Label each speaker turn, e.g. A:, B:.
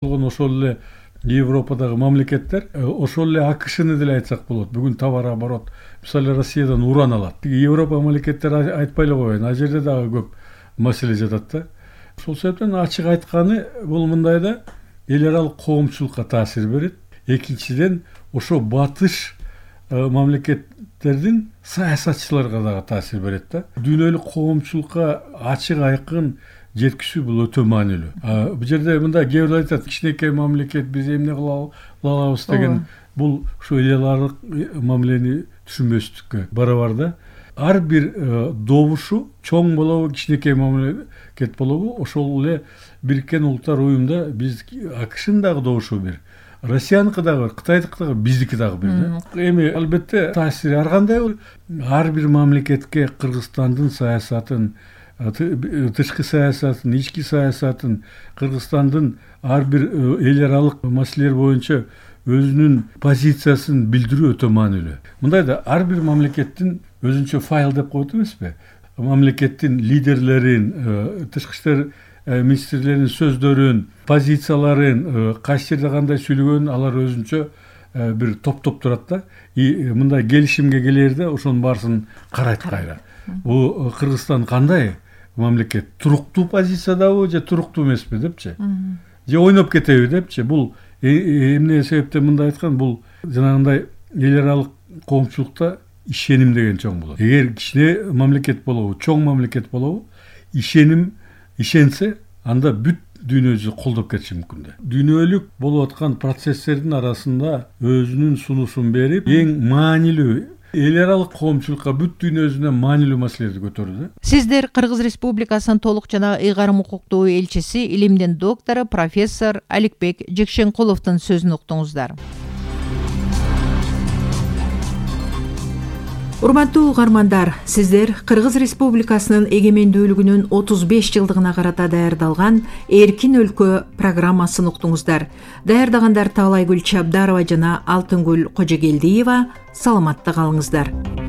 A: Ошол эле Европадагы мамлекеттер ошол эле АКШны деле айтсак болот. Бүгүн товар оборот мисалы Россиядан уран алат. Европа мамлекеттери айтпай эле коеюн. А жерде дагы көп маселе жатат да. Ошол себептен ачык айтканы бул мындай да эл аралык коомчулукка таасир берет. Экинчиден ошо батыш мамлекеттердин саясатчыларга дагы таасир берет да. Дүйнөлүк коомчулукка ачык айкын жеткизүү бул өтө маанилүү. Бул жерде мындай кээ бирөө айтат, кичинекей мамлекет биз эмне кыла алабыз деген бул ушу эл аралык мамилени түшүнбөстүккө барабар да. Ар бир добушу чоң болобу, кичинекей мамлекет болобу, ошол эле Бириккен Улуттар Уюмда биз АКШнын дагы добушу бир, Россияныкы дагы бар, Кытайдыкы дагы, биздики дагы бир да. Эми албетте таасири ар кандай ар бир мамлекетке Кыргызстандын саясатын, тышкы саясатын, ички саясатын, Кыргызстандын ар бир эл аралык маселелер боюнча өзүнүн позициясын билдирүү өтө маанилүү. Мындай да ар бир мамлекеттин өзүнчө файл деп коет эмеспи? Мамлекеттин лидерлерин, тышкы иштер министрлеринин сөздөрүн, позицияларын, кайсы жерде кандай сүйлөгөнүн алар өзүнчө бир топтоп турат да. Мындай келишимге келерде ошонун баарысын карайт кайра. Бул Кыргызстан кандай мамлекет? Туруктуу позициядабы же туруктуу эмеспи депчи? Же ойноп кетеби депчи? Бул эмне себептен мындай айткан? Бул жанагындай эл аралык коомчулукта ишеним деген чоң болот. Эгер кичине мамлекет болобу, чоң мамлекет болобу, ишенсе, анда бүт дүйнө жүзү колдоп кетиши мүмкүн да. Дүйнөлүк болуп аткан процесстердин арасында өзүнүн сунушун берип, эң маанилүү эл аралык коомчулукка бүт дүйнө жүзүнө маанилүү маселелерди көтөрдү.
B: Сиздер Кыргыз Республикасынын толук жана ыйгарым укуктуу элчиси, илимдин доктору, профессор Аликбек Жекшенкуловдун сөзүн уктуңуздар. Урматтуу угармандар, сиздер Кыргыз Республикасынын эгемендүүлүгүнүн 35 жылдыгына карата даярдалган Эркин өлкө программасын уктуңуздар. Даярдагандар Таалайгүл Чабдарова жана Алтынгүл Кожогелдиева. Саламатта калыңыздар.